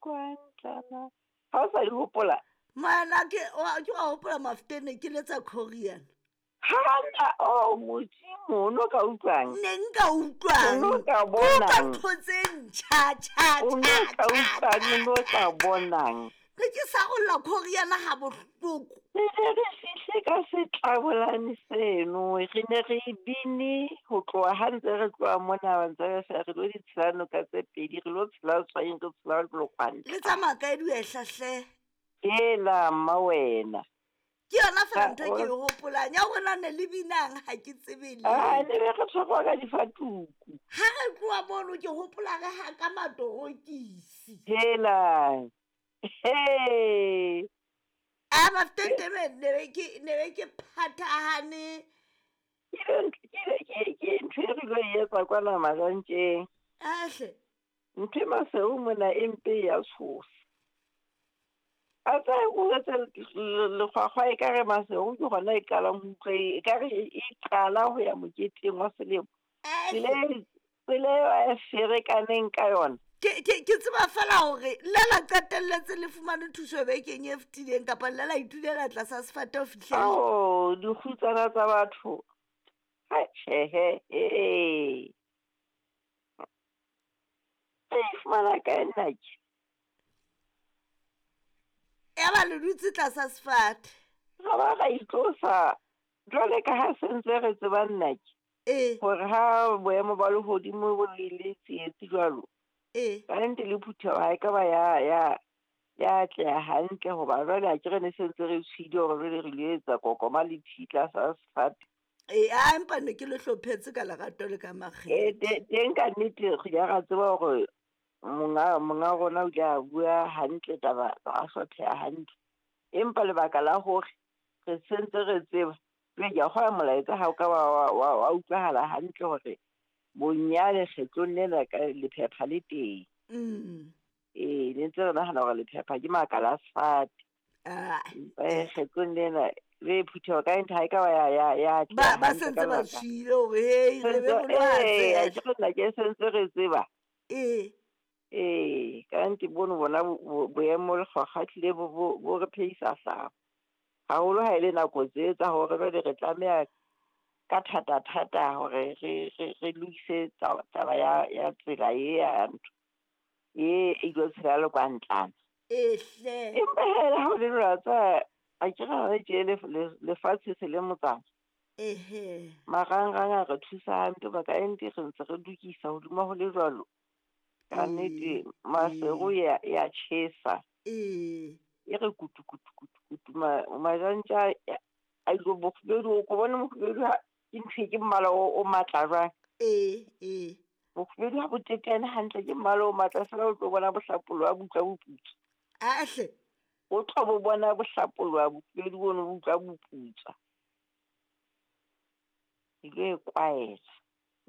Lekwantlana. Ha o sa di hopola? Mana ke wa ke wa hopola Mafeteng ke letsa Korean. Hana oh Modimo o no ka utlwang? Ne nka utlwang. O no ka Ke utlwa bonang? ntho tse ntjha tjha O no tjha ka tjha utlwang, o tjha. no ka bonang? Ne ke sarolla Korean ha bohloko. Re ne re fihle ka setlabolane seno, re ne re bine ho tloha ha ntse re tloha mona ba ntse re fela re lo di tshela noka tse pedi, re lo tshela Tshwaeng, re tshela Le Lekwantla. tsamaya kae dihwehla hle? Hela mma wena. Ke yona fela Ha ntho e ke o e hopolang ya hore na ne le binang ha ke tsebe Ah, letho. ne be re tshwarwa ka difatuku. Ha re tloha mono ke hopola re haka matorokisi. Hela. He. A Mafeteng ne be ke ne be ke phathahane. Ke ke ntho e re lo e etsa kwana Majantjeng. Ahle. Ntho e maseu mona e mpe ya tshosa. A tsaya o etse lekgwakgwa ekare maseu ke hona e qalang ho utlwa ekare e qala ho ya moketeng wa selemo. Tsela Ahle. e tsela eo a ferekaneng ka yona. Ke ke ke tseba fela hore le la qetelletse le fumane thuso bekeng e fetileng kapa le la itulela tlasa sefate ho fihlela. Ao, dikgutsana tsa batho. Hai tjhehe, he. Re e fumana kae nnake? Ya ba le dutse tlasa sefate. Ra ba ra itlosa jwale ka ha se ntse re tseba nnake. Ee. Hore ha boemo ba lehodimo bo le tsietsi jwalo. Ee. Kannete le phutheho ha e ka ba ya ya ya atleha hantle hoba jwale akere ne se ntse re tshohile hore jwale re lo etsa kokoma le thi tlasa sefate. Ee, a empa ne ke le hlophetse ka lerato le ka Ee, makgethe. teng ka nnete re ile ra tseba hore monga monga rona o ile a bua hantle taba ra hlopheha hantle. Empa lebaka la hore re sentse re tseba, jwale ke a kgolwa molaetsa ha o ka wa wa wa utlwahala hantle hore bonyane kgetlong lena ka lephepha le teng. Ee, ne ntse re nahana hore lephepha ke makala a sefate. Ah. Empa kgetlong lena le phutheho ka nnete ha e ka ba ya ya ya Ba atleha ba hantle sentse ka ba lebaka. tshohile hore hei re be Sentse re lo ee, atleha. akere nnake se ntse re tseba. Ee. Ee, kannete bono bona boemo lekgwakgwa ehlile bo bo bo re phehisa hlooho. Haholo ha e le nako tse tsa hore jwale re tlameha ka thata thata hore re re re lokise taba ya ya tsela e ya ntho e e ilo tshela Lekwantlana. Ee hle. Empa hee le ha ho le jwalo wa tseba akere hona tje lefatshe se le motsana. Ehe. Marangrang a re thusa hampe hoba kannete re ntse re lokisa hodima ho le jwalo. Kannete Ee. Maseru Ee. ya ya tjhesa. Ee. E re kutu kutu kutu kutu majantja a ilo bokgubedu o ko bone mokgubedu ha ke ntho e ke mmala o matla jwang. Ee, ee. Bokgubedu ha bo teteane hantle ke mmala o matla feela o tlo bona bohlapoloha bo utlwa boputswa. Ahle. O tlo bo bona bohlapoloha bokgubedu bono bo utlwa boputswa. E lo e kwaela.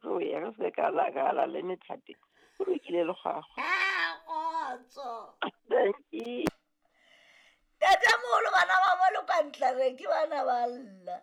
Jo ya re se ka la ka la le methati. Ho lokile lekgwakgwa. Ah, kgotso. Dankie. Ntatemoholo bana ba bo Lekwantlana ke bana ba lla.